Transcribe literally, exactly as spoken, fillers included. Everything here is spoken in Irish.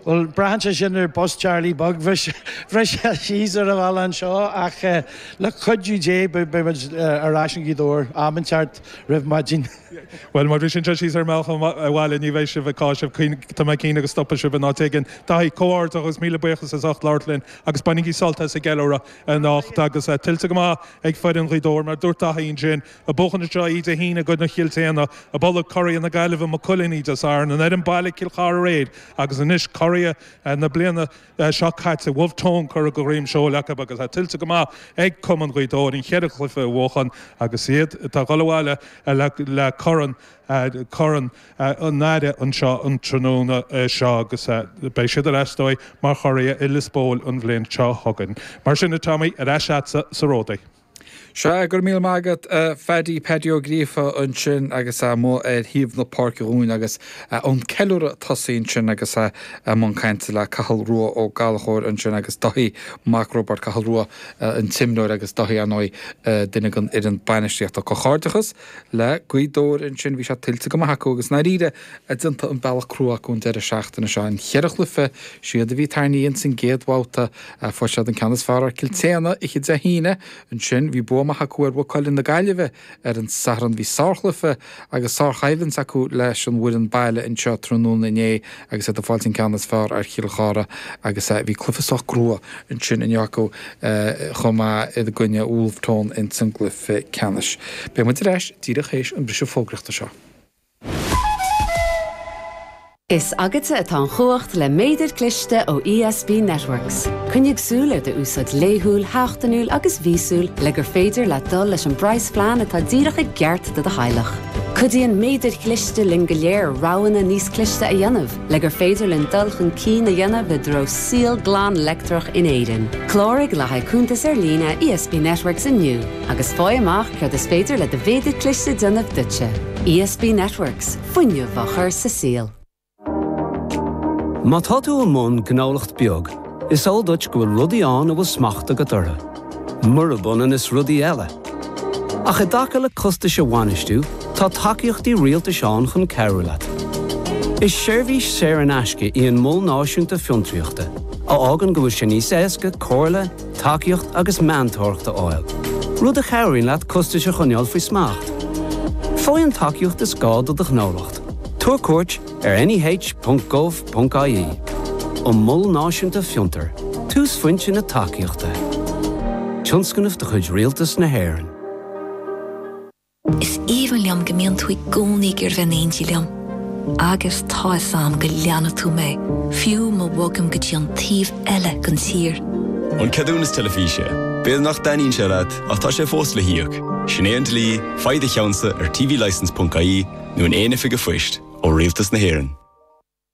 Well braitheann sé sin ar bus Charlie Bug bhris síos ar an bhealach anseo ach le cuidiú Dé beimid ar ais in Gaoth Dobhair am inteacht roimh maidin. Well má bhriseann sé síos ar an mbealach abhaile ní bheidh sibh ag cáiseamh tá mé cinnte go stopfaidh sibh in áit éigin. Daithí comhghairdeas agus míle buíochas as ucht labhairt linn agus bainigí sult as an gceiliúradh anocht agus tuillte go maith ag foireann Ghaoth Dobhair mar dúirt Daithí ansin ag buachan anseo Dé hAoine i gcoinne Chill tSéadhna ag bualadh curaidh na Gaillimhe Maigh Cuilinn Dé Sathairn an fhoireann baile Cill Chartha aréir agus anois curaidh na bliana seo caite Wolfe Tone curtha de dhroim seoil acu agus tá tuillte go maith ag Cumann Ghaoth Dobhair an cheithre chluiche a bhuachan agus iad atá ag dul abhaile le le corn corn an Aire anseo an tráthnóna seo agus beidh siad ar ais dóibh mar churaidh i Lios Póil an bhliain seo chugainn. Mar sin a Tommy ar ais agatsa sa Ródaí. Sea go raibh míle maith agat Phaddy Paddy Ó Gríofa ansin agus amuigh ar thaobh na páirce dhúinn agus an ceiliúradh tosaithe ansin agus i mbun cainte le Cathal Rua Ó Gallchóir ansin agus Daithí Mac Roibeaird Cathal Rua an t-imreoir agus Daithí ar ndóigh duine den fhoireann bainistíochta comhghairdeachas le Gaoth Dobhair ansin bhí sé tuillte go maith acu agus dáiríre déanta an bealach crua acu an deireadh seachtaine seo an cheithre chluiche siad a bhí tarraingthe san gcéad bhabhta fuair siad an ceann is fearr ar Cill tSéadhna oíche Dé hAoine ansin bhí bua maith acu ar Mhaigh Cuilinn na Gaillimhe ar an Satharn bhí sárchluiche agus sárchoimhlint acu leis an bhfoireann baile anseo tráthnóna inné agus iad ag fáilt an ceann is fearr ar Chill Chartha agus bhí cluiche sách crua ansin inniu acu chomh maith i gcoinne Wolfe Tone in san gcluiche ceannais. Beidh muid ar ais díreach théis an briseadh fógraíochta seo. Is agatsa atá an chumhacht le méadar cliste ó ESB Networks. Coinnigh súil ar do úsáid laethúil, sheachtainiúil agus mhíosúil le gur féidir le dul leis an bpraghasphlean atá díreach i gceart do do theaghlach. Cuidíonn méadair chliste linn go léir roghanna níos cliste a dhéanamh, le gur féidir linn dul chun cinn a dhéanamh i dtreo saol glan leictreach in Éirinn. Cláraigh le haghaidh cuntas ar líne ESB Networks inniu, agus faigh amach cad is féidir le do mhéadar cliste déanamh duitse. ESB Networks, fuinneamh á chur sa saol. Má tá tú i mbun gnólacht beag, is eol duit go bhfuil rudaí ann a bhfuil smacht agat orthu. Murab ionann is rudaí eile. Ach i dtaca le costais a bhainistiú, tá tacaíochtaí rialtais ann chun cabhrú leat. Is seirbhís saor in aisce í an Mol Náisiúnta Fiontraíochta, a fhágann go bhfuil sé níos éasca comhairle, tacaíocht agus meantóireacht a fháil. Rud a chabhraíonn leat costais a choinneáil faoi smacht. Faigh an tacaíocht is gá do do ghnólacht. Tabhair cuairt ar neh.gov.ie. An Mol Náisiúnta Fiontar, túsphointe na tacaíochta. Tionscnamh de chuid Rialtas na hÉireann. Is aoibhinn liom go mbíonn tú i gcónaí ag iarraidh bheith in éindí liom. Agus tá a fhios agam go leanfaidh tú mé, fiú má bhogaim go dtí an taobh eile den tír. An ceadúnas teilifíse, B'fhéidir nach dtaitníonn sé leat ach tá sé fós le híoc. Sin é an dlí, faigh do cheannsa ar tvlicence.ie nó in aon oifig an phoist ó Rialtas na hÉireann.